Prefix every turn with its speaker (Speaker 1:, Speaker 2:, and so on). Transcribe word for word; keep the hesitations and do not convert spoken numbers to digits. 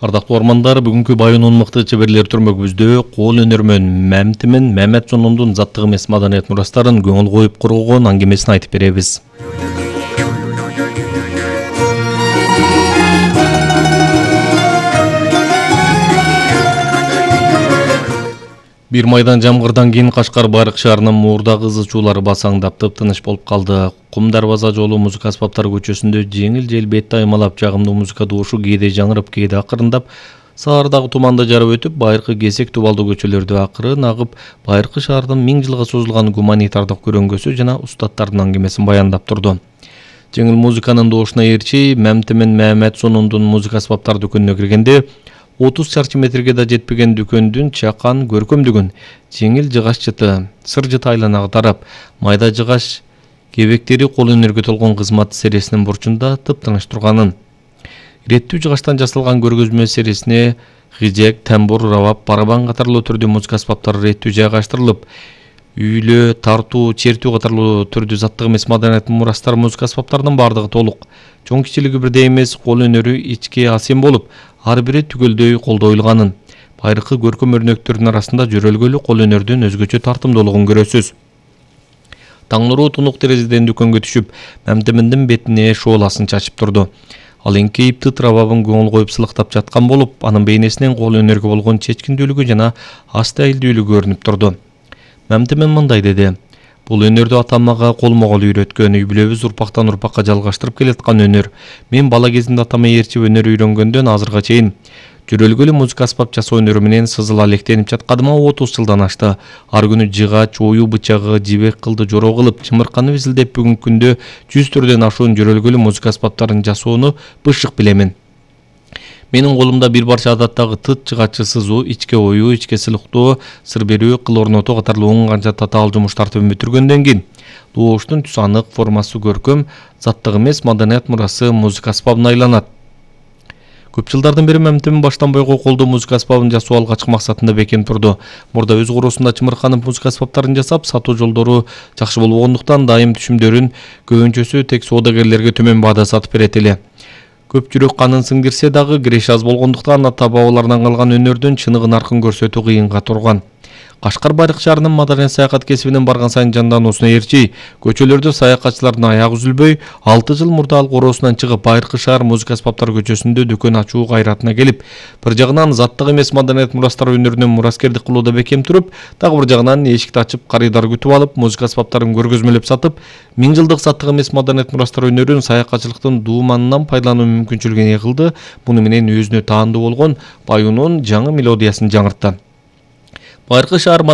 Speaker 1: Ардактуу армандар, бүгүнкү Байынын мыкты чеберлер түрмөгүбүздө кол өнөрмөн Мамтимин Маматжонондун заттык эмес маданият мурастарын көңүл коюп коргогон аңгемесин айтып беребиз. Бир майдан жамгырдан кийин Кашкар Байрак шаарынын муурдагы ызы чуулары басаңдап тыптыныч болуп калды. Кум Дарбаза жолу Музыка аспаптары көчөсүндө жеңил жел бетти аймалап жагымдуу музыка доошу кээде жаңырып, кээде акырындап, саардагы туманды жарып өтүп, байыркы Кесек Тубалдуу көчөлөрдү акырын агып, Байыркы шаардын миң жылга созулган гуманитардык көрөнгөсү жана устаттардын аңгемесин баяндап турду. Жеңил музыканын доошуна ээрчи Мамтимин Маматжонондун музыка аспаптар дүкөнүнө киргенде отуз чарчы метрге да жетпеген дүкөндүн чакан көркөмдүгүн, жеңил жыгаш жыты, сыр жыты айланага тарап, майда жыгаш кебектери кол өнөргө толгон кызмат сересинин бурчунда тыптыныч турганын, иреттүү жыгаштан жасалган көргөзмө сересине хижек, тамбур, рабап, барабан катарлуу түрдүү музыка аспаптары иреттүү жайгаштырылып, үйлө, тартуу, чертүү катарлуу түрдүү заттык эмес маданият мурастар музыка аспаптарынын бардыгы толук. Чоң кичилиги бирдей эмес, кол өнөрү ичке асем болуп, ар бири түгөлдөй колдоюлганын. Байыркы көркөм өрнөктөрдүн арасында жөрөлгөлүү кол өнөрдүн өзгөчө тартымдуулугун көрөсүз. Таң нуру тунук терезеден дүкөнгө түшүп, Мамтиминдин бетине шооласын чачып турду. Ал эңкейип тыт рабабын көңүл коюп сылыктап жаткан болуп, анын бейнесинен кол өнөргө болгон чечкиндүүлүгү жана астайылдүүлүгү көрүнүп турду. Мамтимин мындай деди: "Бул өнөрдү атам мага колмо-кол үйрөткөн, үй бүлөбүз урпактан урпакка жалгаштырып келаткан өнөр. Мен бала кезимде атама ээрчип өнөр үйрөнгөндөн азырга чейин жөрөлгөлүү музыка аспап жасоо өнөрү менен сызыла электенип жатканыма отуз жылдан ашты. Ар күнү жыгач, оюу бычагы, жибек кылды жороо кылып, чымырканып изилдеп бүгүнкү күндө жүз түрдөн ашуун жөрөлгөлүү музыка аспаптарын жасоону бышык билемин. Менин колумда бир барча адаттагы тыт, жыгачы сызуу, ичке оюу, ичке сылыктоо, сыр берүү, кыл орнотуу катарлуу он канча татаал жумуштарды бүтүргөндөн кийин дооштун түсү анык, формасы көркөм, заттык эмес маданият мурасы музыка аспабына айланат. Көп жылдардан бери Мамтимин баштан бойго колдоо музыка аспабын жасоо алгачкы максатында бекем турду. Мурда өз короосунда чымырканып музыка аспаптарын жасап, сатуу жолдору жакшы болбогондуктан дайым түшүмдөрүн көбүнчөсү тек соодагерлерге төмөн баада сатып берет эле. Көп жүрөк канын сиңдирсе дагы киреше аз болгондуктан ата бабалардан калган өнөрдүн чыныгы наркын көрсөтүү кыйынга турган. Кашкар Байрак шаарынын маданият саякат кесибинин барган сайын жандануусуна ээрчи, көчөлөрдө саякатчылардын аягы үзүлбөй, алты жыл мурда ал короосунан чыгып Байыркы шаар музыка аспаптары көчөсүндө дүкөн ачуу кайратына келип, бир жагынан заттык эмес маданият мурастар өнөрүнөн мураскердик кылууда бекем туруп, дагы бир жагынан эшикти ачып, карыйдар күтүп алып, музыка аспаптарын көргөзмөлөп сатып, миң жылдык заттык эмес маданият мурастар өнөрүн саякатчылыктын дууманынан пайдалануу мүмкүнчүлүгүн кылды. Муну менен өзүнө таандуу болгон Байынын жаңы мелодиясын жаңыртты. Байыркы шаар